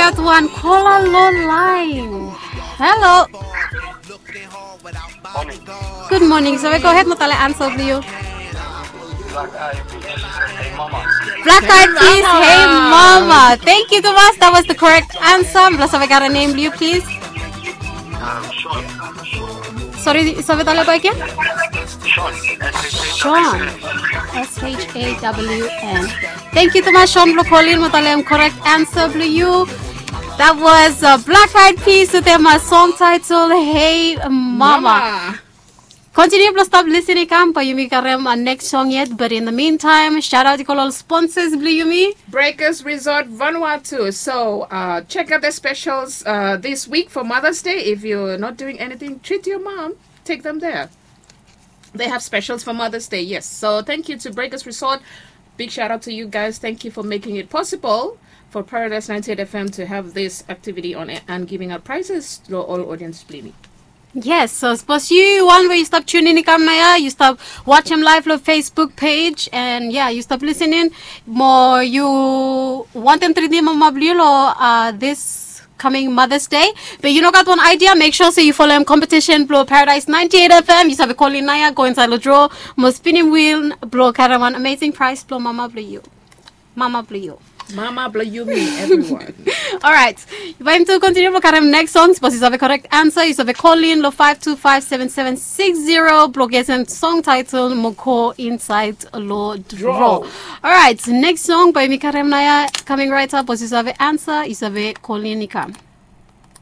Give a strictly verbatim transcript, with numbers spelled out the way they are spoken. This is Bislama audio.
Gat wan kola lo laen. Halo. Gud moning. Save gohed mo talem ansa blong yu. Black Eyed Peas, Hey Mama. Thank you tumas. That was the correct answer. Blong save gat nem blong yu, please. Sori, save talem bak gen? Sean. S H A W N. Thank you tumas Sean blong kolin mo talem korek ansa blong yu. That was uh, Black Eyed Peas with their uh, song title Hey Mama. Kontiniu blong stap lisin i kam, bae yumi karem uh, next song yet, but in the meantime, shout out i go lo ol sponsors blong yumi. Breakers Resort Vanuatu. So uh, check out the specials uh, this week for Mother's Day. If you're not doing anything, treat your mom. Take them there. They have specials for Mother's Day, yes. So thank you to Breakers Resort. Big shout out to you guys. Thank you for making it possible for Paradise ninety-eight F M to have this activity on air and giving out prizes to all audience blong yumi. Yes, so sapos yu wan we yu stap tunin i kam naoia, yu stap wajem live lo Facebook page, and yeah, yu stap lisin in mo yu wantem tritim mama blong yu lo uh, this coming Mother's Day. Be yu no gat wan idea, make sure se yu folem competition blong Paradise ninety-eight F M. Yu save kolin naoia, go insaed lo draw mo spinim wheel blong karem wan amazing prize blong mama blong yu. Mama blong yu. Mama blong yumi, everyone. Alright. Bae yumi tu kontiniu blong karem next song. Sapos yu save korek ansa, yu save kolin lo five two five seven seven six zero blong getem song title mo go insaed lo draw. Alright, next song bae yumi karem naoia, coming right up. Sapos yu save ansa, yu save kolin i kam.